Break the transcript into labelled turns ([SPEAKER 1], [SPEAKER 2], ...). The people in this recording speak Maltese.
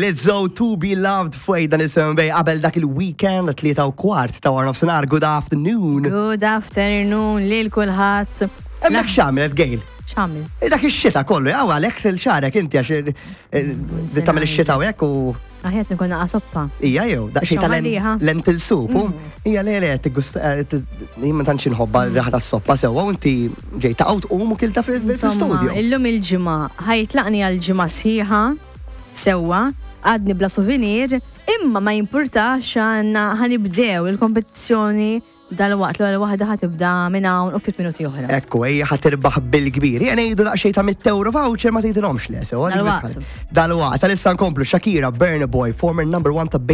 [SPEAKER 1] Lizzo To Be Loved fuq dan is-7 bay qabel dak il-weekend 3:15 ta' wara nofsinhar. Good afternoon.
[SPEAKER 2] Good afternoon lil kulħadd.
[SPEAKER 1] Hemmhekk x'għamlet Gail?
[SPEAKER 2] X'għamil?
[SPEAKER 1] Dak ix-xita kollu, għaw Alex il-xarek inti għax tagħmel ix-xita u hekk u
[SPEAKER 2] Aħjar nkun naqa' soppa.
[SPEAKER 1] Ija jew, daqsxejn ta'
[SPEAKER 2] Xaħariħa.
[SPEAKER 1] lentil soup. Ija le le tiggusta jien ma tantx inħobba r-raħa tas-soppa sewwa u inti ġej ta' tqum u kilta fil-studio.
[SPEAKER 2] Illum il-ġimgħa ħajtlaqni għal ġimgħa sħiħa sewwa, għadni bla souvenir, imma ma jimpurtax għandna ħanibdew il-kompetizzjoni dal-waqt l-ewwel waħda ħatibda minn hawn u ftit minuti oħra.
[SPEAKER 1] Ekku, ejja ħatirbaħ bil-kbir. Jena ngħidu daqsxejn ta' 100 euro voucher ma tgħidilhomx le, sewa.
[SPEAKER 2] Dal-waqt.
[SPEAKER 1] Dal-waqt, tal-issa nkomplu Shakira, Burna Boy, former number one ta'